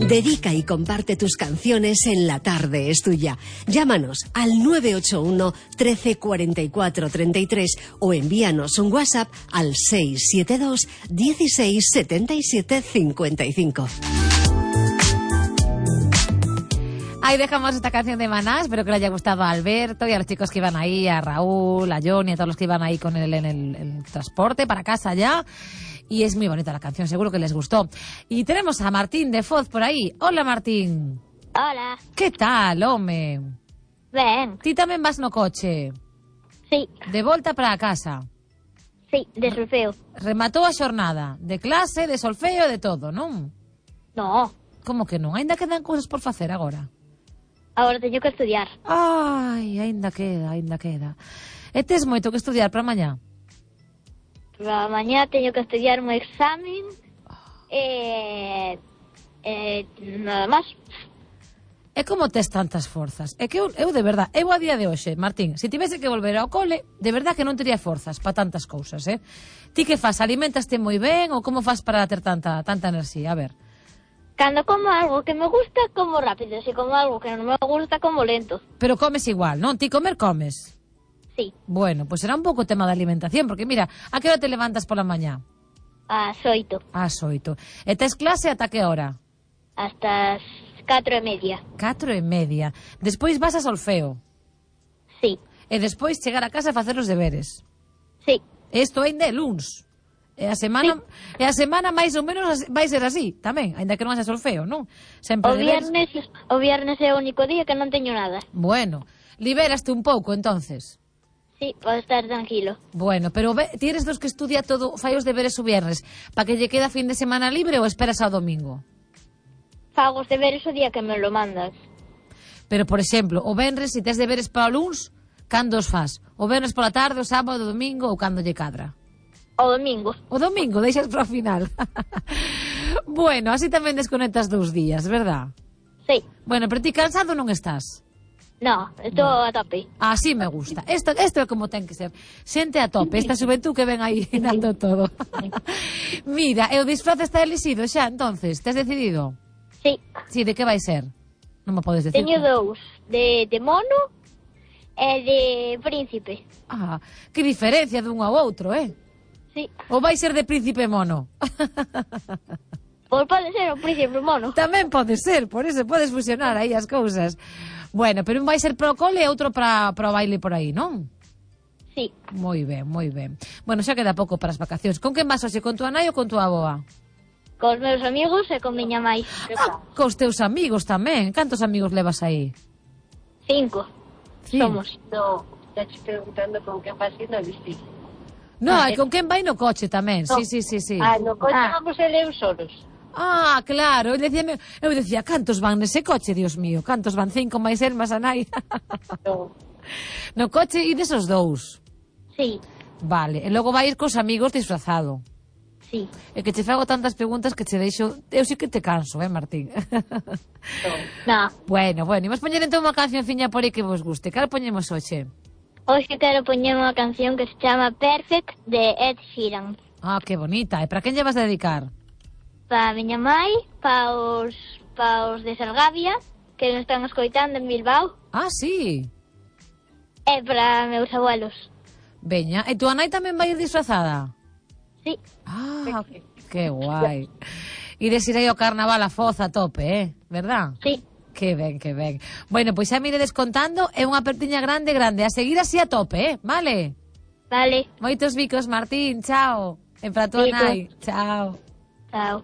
Dedica y comparte tus canciones en La Tarde es Tuya. Llámanos al 981 13 44 33 o envíanos un WhatsApp al 672 16 77 55. Ahí dejamos esta canción de Maná. Espero que le haya gustado a Alberto y a los chicos que iban ahí, a Raúl, a Johnny, a todos los que iban ahí con él en el transporte para casa ya. Y es muy bonita la canción, seguro que les gustó. Y tenemos a Martín de Foz por aí. Hola, Martín. Hola. Que tal, home? Ben. Ti tamén vas no coche? Sí. De volta para a casa? Sí, de solfeo. Rematou a xornada? De clase, de solfeo, de todo, non? No. Como que non? Ainda quedan cousas por facer agora? Agora teño que estudiar. Ai, ainda queda. E tes moito que estudiar para mañá? Para mañá teño que estudiar un examen. Nada máis. E como tes tantas forzas? É que eu de verdad, eu a día de hoxe, Martín, se tivese que volver ao cole, de verdad que non tería forzas para tantas cousas, Ti que fas? Alimentaste moi ben ou como fas para ter tanta enerxía? A ver. Cando como algo que me gusta, como rápido. Se como algo que non me gusta, como lento. Pero comes igual, non? Ti comer comes? Sí. Bueno, pues será un pouco tema de alimentación, porque mira, a que hora te levantas pola mañá? Ás 8. Ás 8. E tes clase ata que hora? Hasta as 4:30. 4:30. Despois vas a solfeo? Sí. E despois chegar a casa e facer os deberes? Sí. Isto ainda é luns. E a semana, sí. E a semana máis ou menos vai ser así, tamén, ainda que non haxa solfeo, non? Sempre o viernes é o único día que non teño nada. Bueno, liberaste un pouco, entonces. Sí, podo estar tranquilo. Bueno, pero ti eres dos que estudia todo, fai os deberes o viernes, para que lle queda fin de semana libre ou esperas ao domingo? Fago os deberes o día que me lo mandas. Pero, por exemplo, o venres, se tes deberes para o luns, cando os fas? O venres pola tarde, o sábado, o domingo ou cando lle cadra? O domingo. O domingo, deixas para o final. Bueno, así tamén desconectas 2 días, verdad? Sí. Bueno, pero ti cansado non estás? No, estou a tope. Así me gusta. Isto é como ten que ser. Xente a tope, esta xuventud que ven aí dando todo. Mira, e o disfraz está elixido xa, entonces, tes decidido? Sí. Sí, de que vai ser? Non me podes decir. Teño 2, de mono e de príncipe. Ah, que diferencia dun ao outro, Sí. Ou vai ser de príncipe mono? Pois pode ser o príncipe mono. Tamén pode ser, por eso podes fusionar aí as cousas. Bueno, pero un vai ser para o cole e outro para o baile por aí, non? Sí. Moi ben, moi ben. Bueno, xa queda pouco para as vacacións. Con quen vas hoxe? Con tua nai ou con tua avoa? Cos meus amigos e con miña mãe. Cos teus amigos tamén. Cantos amigos levas aí? 5. Somos. No, estás preguntando con quen vas ir no vestido. No, e con quen vai no coche tamén. No. Sí. No coche vamos eu solos. Ah, claro, eu decía, cantos van nese coche, Dios mío, cantos van, 5 máis el, máis a nai. No. No coche e desos 2. Sí. Vale, e logo vai ir cos amigos disfrazado. Sí. E que che fago tantas preguntas que che deixo, eu sí que te canso, Martín? No. Bueno, imos poñer entón unha cancionciña por aí que vos guste. Cal poñemos hoxe? Hoxe quero poñer unha canción que se chama Perfect de Ed Sheeran. Ah, que bonita. E para quen lle vas a dedicar? Para a miña mãe, para os de Salgavia, que nos están escoitando en Bilbao. Ah, sí. E para meus abuelos. Veña, e tua nai tamén vai ir disfrazada? Sí. Ah, que guai. Ides ir aí ao carnaval a Foz a tope, verdad? Sí. Que ben. Bueno, pois xa me iredes contando, é unha apertiña grande, a seguir así a tope, vale? Vale. Moitos bicos, Martín, chao. E para tua nai, chao. Chao.